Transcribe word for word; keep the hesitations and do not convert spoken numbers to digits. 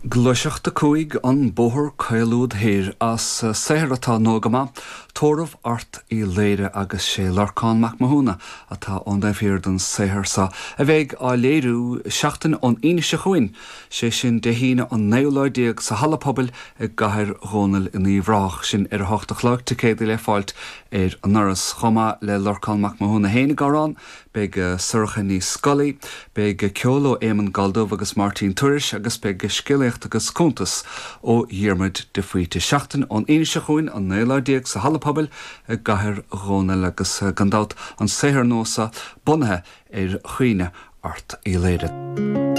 Gluaiseacht a cúig an bóthar caol úd thoir as saothar atá nua go maith, Tórramh Airt Uí Laoire agus sé Lorcán Mac Mathúna atá ón dtaobh thiar den saothar seo a bheidh á léiriú seachtain ón Aoine seo chugainn, sé sin Dé hAoine an naoú lá déag sa halla pobail i gCathair Dhónaill in Uíbh Ráthach sin ar a hocht a chlog ticéadaí le fáilt ar an ndoras chomh maith le Lorcán Mac Mathúna féin ag amhrán, beidh Sorcha Ní Scolaí, beidh ceol ó Éamonn Galldubh agus Máirtín Tuairisg agus beidh scéalaíocht agus cuntas ó Dhiarmuid de Faoite. Seachtain ón Aoine seo chugainn an naoú lá déag sa halla pobail i gCathair Dhónaill agus gan dabht an saothar nua seo bunaithe ar chuimhne Airt Uí Laoire.